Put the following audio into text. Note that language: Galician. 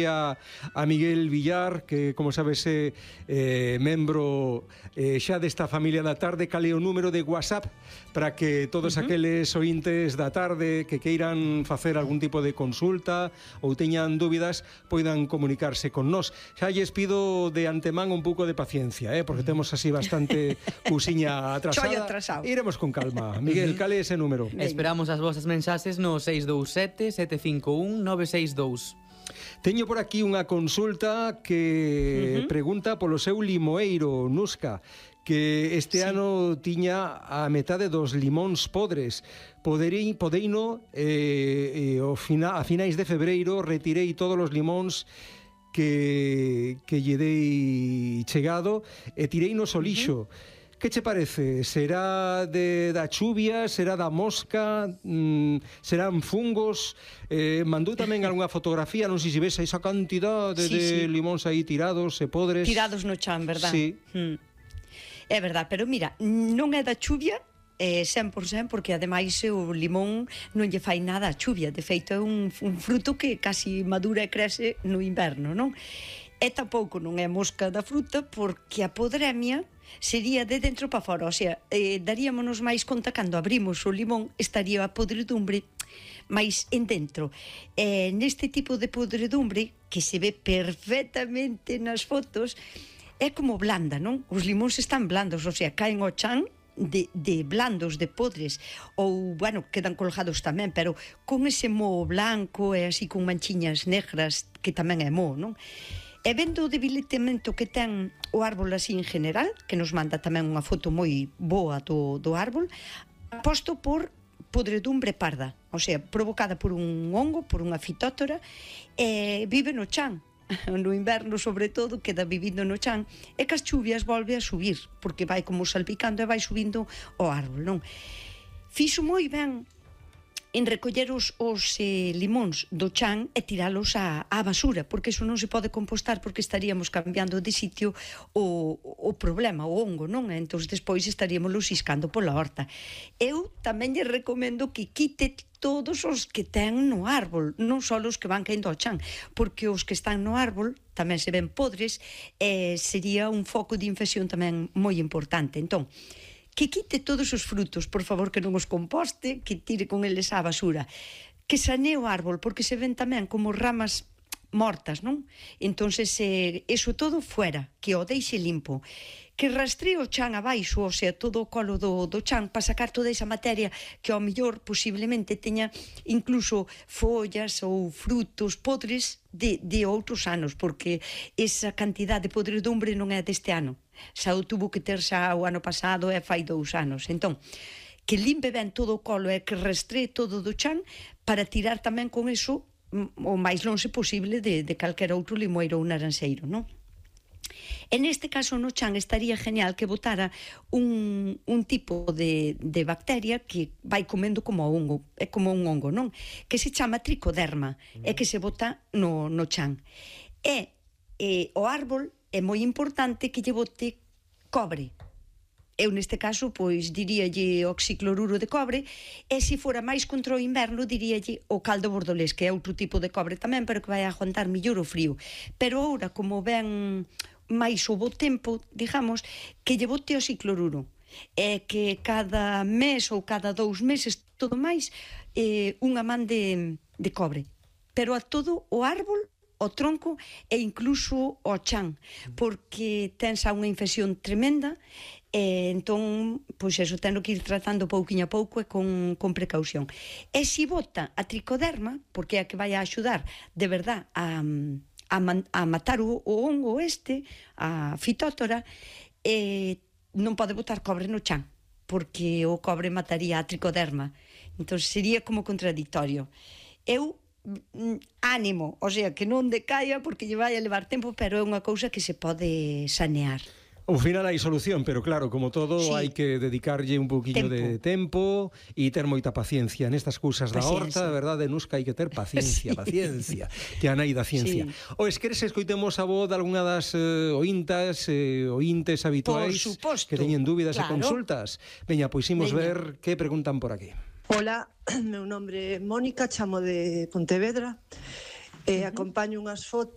a Miguel Villar, que, como sabes, é membro xa desta familia da tarde. Cal é o número de WhatsApp para que todos aqueles ointes da tarde que queiran facer algún tipo de consulta ou teñan dúbidas poidan comunicarse con nós. Xa lles pido de antemán un pouco de paciencia, porque temos así bastante cousiña atrasada. Iremos con calma. Miguel, cal é ese número? Esperamos as vosas mensaxes no 627 751 962. Teño por aquí unha consulta que pregunta polo seu limoeiro, Nusca, que este ano tiña a metade dos limóns podres. Podeino, a finais de febreiro, retirei todos os limóns que lle dei chegado e tirei no solixo. Que che parece? Será da chuvia? Será da mosca? Serán fungos? Mandou tamén algunha fotografía, non sei se ves esa cantidade de limóns aí tirados e podres. Tirados no chan, verdad? Sí. É verdad, pero mira, non é da chuvia 100%, porque ademais o limón non lle fai nada a chuvia. De feito é un fruto que casi madura e crece no inverno, non? E tampouco non é mosca da fruta, porque a podremia sería de dentro para fora, o sea, daríamonos máis conta cando abrimos o limón, estaría a podredumbre máis en dentro. Neste tipo de podredumbre, que se ve perfectamente nas fotos, é como blanda, non? Os limóns están blandos, o sea, caen ao chan de blandos, de podres, ou, bueno, quedan colgados tamén, pero con ese moho blanco e así con manchiñas negras, que tamén é moho, non? E vendo o debilitamento que ten o árbol así en general, que nos manda tamén unha foto moi boa do árbol, aposto por podredumbre parda, o sea, provocada por un hongo, por unha fitótora, e vive no chan. No inverno, sobre todo, queda vivindo no chan, e que as chuvias volve a subir, porque vai como salpicando e vai subindo o árbol, non? Fixo moi ben en recoller os limóns do chan e tiralos á basura, porque iso non se pode compostar, porque estaríamos cambiando de sitio o problema, o hongo, non? Entón, despois estaríamos iscando pola horta. Eu tamén lle recomendo que quite todos os que ten no árbol, non só os que van caendo ao chan, porque os que están no árbol tamén se ven podres e sería un foco de infección tamén moi importante. Entón, que quite todos os frutos, por favor, que non os composte, que tire con eles á basura, que sanee o árbol, porque se ven tamén como ramas mortas, non? Entonces, eso todo fuera, que o deixe limpo, que rastree o chan abaixo, o sea, todo o colo do chan, para sacar toda esa materia que ao mellor posiblemente teña incluso follas ou frutos podres de outros anos, porque esa cantidad de podredumbre non é deste ano, xa o tuvo que ter xa o ano pasado e fai 2 anos. Entón, que limpe ben todo o colo e que rastree todo do chan para tirar tamén con eso o máis lonxe posible de calquera outro limoeiro ou naranxeiro, non? E neste caso no chan estaría genial que botara un tipo de bacteria que vai comendo como hongo, é como un hongo, non? Que se chama tricoderma, e que se bota no chan. E o árbol é moi importante que lle bote cobre. Eu neste caso, pois, diríalle oxicloruro de cobre, e se fora máis contra o inverno, diríalle o caldo bordolés, que é outro tipo de cobre tamén, pero que vai aguantar mellor o frío. Pero agora, como ven máis o bo tempo, digamos, que lle bote oxicloruro, e que cada mes ou cada 2 meses, todo máis, unha man de cobre. Pero a todo o árbol, o tronco e incluso o chan, porque ten xa unha infección tremenda, e entón, pois eso, teno que ir tratando pouquiño a pouco e con precaución. E se bota a tricoderma, porque é a que vai a axudar de verdad a matar o hongo a fitótora, non pode botar cobre no chan, porque o cobre mataría a tricoderma. Entón sería como contradictorio. Eu ánimo, o sea, que non decaia porque lle vai a levar tempo, pero é unha cousa que se pode sanear. Ao final hai solución, pero claro, como todo, hai que dedicarlle un pouquiño de tempo e ter moita paciencia nestas cousas da horta, de verdade, Nusca, hai que ter paciencia, paciencia, que a nai da ciencia. O queres escoitemos a voz de algunha das ointes habituais que teñen dúbidas e consultas? Veña, pois imos ver que preguntan por aquí. Hola, meu nombre é Mónica, chamo de Pontevedra, acompaño unhas fotos